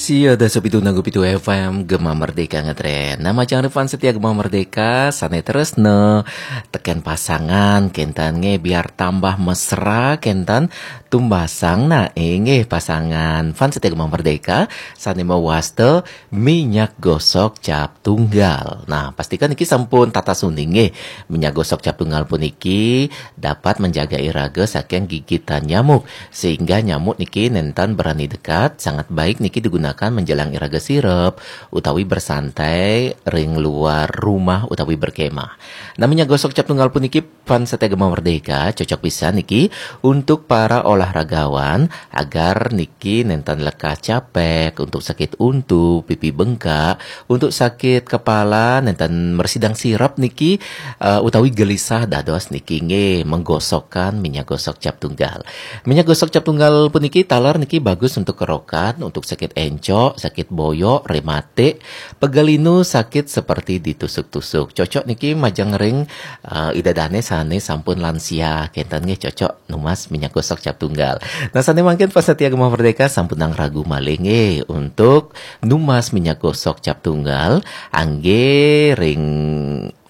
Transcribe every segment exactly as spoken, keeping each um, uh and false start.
Sia dasa pitu nanggu pitu F M Gema Merdeka ngetren. Nah, majeng ring fans setia Gema Merdeka, sane tresna teken pasangan, kenten nggih, biar tambah mesra, kenten tumbasang nae nggih pasangan. Fans setia Gema Merdeka, sane mawasta minyak gosok cap tunggal. Nah, pastikan niki sampun tatas uning nggih. Minyak gosok cap tunggal puniki dapat menjaga iraga saking gigitan nyamuk, sehingga nyamuk niki nenten berani dekat. Sangat baik niki digunakan menjelang iraga sirep utawi bersantai ring luar rumah utawi berkemah. Nah, minyak gosok cap tunggal puniki fans setia Gema Merdeka cocok pisan niki untuk para olahragawan agar niki nenten lekas capek, untuk sakit untu, pipi bengkak, untuk sakit kepala, nenten mresidang sirep niki, eh, utawi gelisah dados niki nggih menggosokkan minyak gosok cap tunggal. Minyak gosok cap tunggal puniki taler niki bagus untuk kerokan, untuk sakit encok, sakit boyok, rematik, pegal linu, sakit seperti ditusuk-tusuk. Cocok niki majeng ring, eh, ida dane sane sampun lansia, kenten nggih cocok numas minyak gosok cap tunggal. Nah, sane mangkin fans setia Gema Merdeka sampunang ragu malih nggih untuk numas minyak gosok cap tunggal, angge ring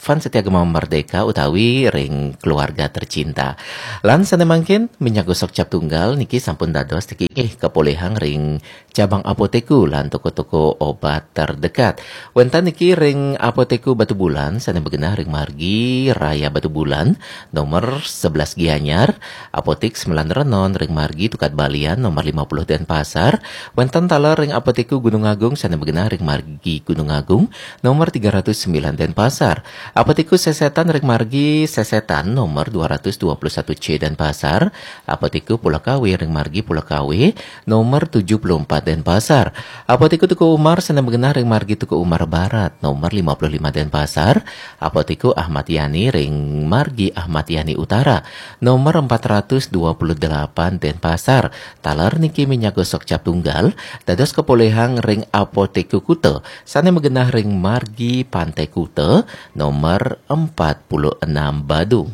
fans setia Gema Merdeka utawi ring keluarga tercinta. Lan sane mangkin minyak gosok cap tunggal niki sampun dados niki nggih kapolihang ring cabang Apoteku lan toko-toko obat terdekat. Wenten niki ring Apoteku Batubulan sane magenah ring Margi Raya Batubulan, nomor sebelas Gianyar, Apotek Sembilan Renon ring Margi Tukad Balian, nomor lima puluh Denpasar. Wenten taler ring Apoteku Gunung Agung sane magenah ring Margi Gunung Agung, nomor tiga ratus sembilan Denpasar. Apoteku Sesetan ring Margi Sesetan, nomor dua ratus dua puluh satu C Denpasar. Apoteku Pulau Kawe ring Margi Pulau Kawe, nomor tujuh puluh empat Denpasar. Apoteku Teuku Umar sane magenah ring Margi Teuku Umar Barat, nomor lima puluh lima Denpasar. Apoteku Ahmad Yani ring Margi Ahmad Yani Utara, nomor empat ratus dua puluh delapan Denpasar. Taler niki minyak gosok cap tunggal dados kapolihang ring Apoteku Kuta sane magenah ring Margi Pantai Kuta, nomor empat puluh enam Badung.